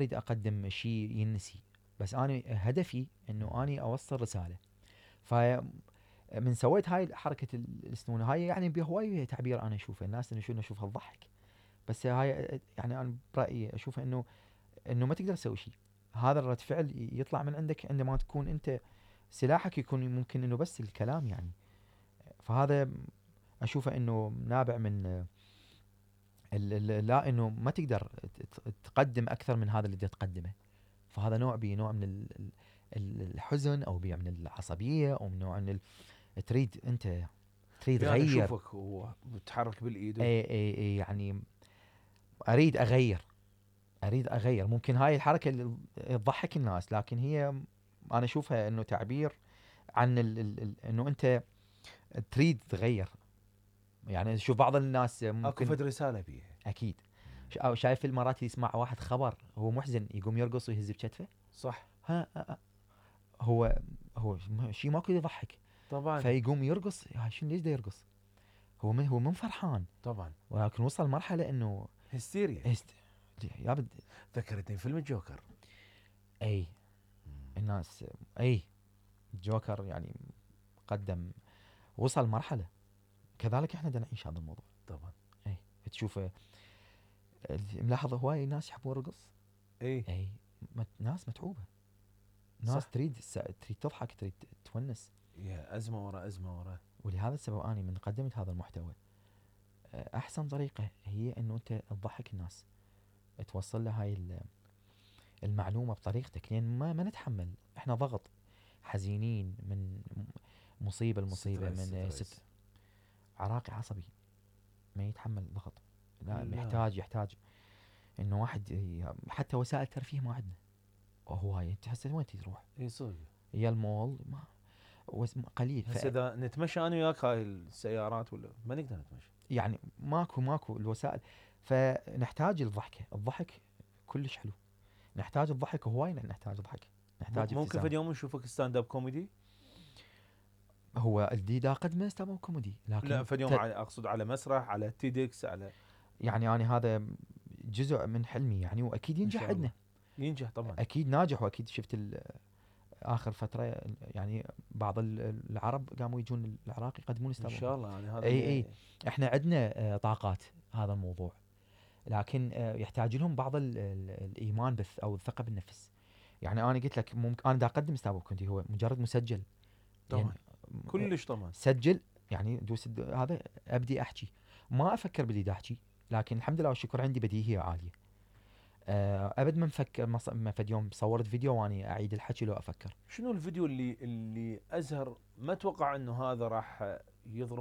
اريد اقدم شيء ينسي، بس انا هدفي انه اني اوصل رساله. ف من سويت هاي حركه السنونه هاي يعني بهواي تعبير انا اشوفه، الناس انه شو اشوفها تضحك، بس هاي يعني انا برايي اشوف انه ما تقدر تسوي شيء. هذا الرد فعل يطلع من عندك عندما تكون انت سلاحك يكون ممكن انه بس الكلام يعني. فهذا اشوفه انه نابع من لا انه ما تقدر تقدم اكثر من هذا اللي تقدمه. فهذا بنوع من الحزن او بنوع من العصبيه او من نوع من تريد انت تريد يعني تغير. اشوفك هو بتحرك بالايد اي يعني اريد اغير. ممكن هاي الحركه اللي تضحك الناس، لكن هي انا اشوفها انه تعبير عن انه انت تريد تغير. يعني شوف بعض الناس اكو ممكن فد رساله بيها. اكيد أو شايف المرات يسمع واحد خبر هو محزن يقوم يرقص ويهز بكتفه. صح هو شيء ماكو يضحك، طبعا فيقوم يرقص. هاي شنو ليش دا يرقص؟ هو من فرحان، طبعا ولكن وصل مرحله انه هستيريا. يابد. ذكرتني فيلم الجوكر. اي الناس اي جوكر يعني قدم وصل مرحله، كذلك احنا بدنا نعيش هذا الموضوع. طبعا اي تشوفه ملاحظ هواي ناس يحبون الرقص. اي اي ناس متعوبه، ناس صح. تريد تضحك، تريد تونس. يا ازمه ورا ازمه ورا. ولهذا السبب اني من قدمت هذا المحتوى احسن طريقه هي انه انت تضحك الناس، توصل له هاي المعلومه بطريقتك، لان ما نتحمل احنا ضغط، حزينين من مصيبه لمصيبه، من عراقي عصبي ما يتحمل ضغط. لا لا. يحتاج انه واحد حتى وسائل ترفيه ما عندنا. وهو هاي انت هسه وين تروح؟ اي صدق. يا المول ما قليل. هسه اذا نتمشى انا وياك هاي السيارات ولا ما نقدر نتمشى. يعني ماكو الوسائل. فنحتاج الضحك كلش حلو. نحتاج الضحك هواي، نحتاج ضحك، نحتاج ممكن ابتسامة. في يوم نشوفك ستاند اب كوميدي. هو الجديد اقدمه ستاند اب كوميدي، لكن لا في يوم اقصد على مسرح على تيدكس على. يعني انا هذا جزء من حلمي يعني، واكيد ان ينجح شاء الله عندنا. ينجح طبعا. اكيد ناجح، واكيد شفت اخر فتره يعني بعض العرب قاموا يجون العراق يقدمون ان ستاند اب. شاء الله يعني هذا اي احنا عندنا طاقات هذا الموضوع، لكن يحتاج لهم بعض الايمان او الثقه بالنفس. يعني انا قلت لك ممكن انا دا اقدم ستاند اب كوميدي هو مجرد مسجل طبعا يعني كلش طبعا. سجل يعني دوس هذا ابدي احكي، ما افكر باللي دا احكي، لكن الحمد لله والشكر عندي بديهيه عاليه. ابد ما نفكر ما فد يوم صورت فيديو واني اعيد الحكي لو افكر. شنو الفيديو اللي ازهر ما اتوقع انه هذا راح يضرب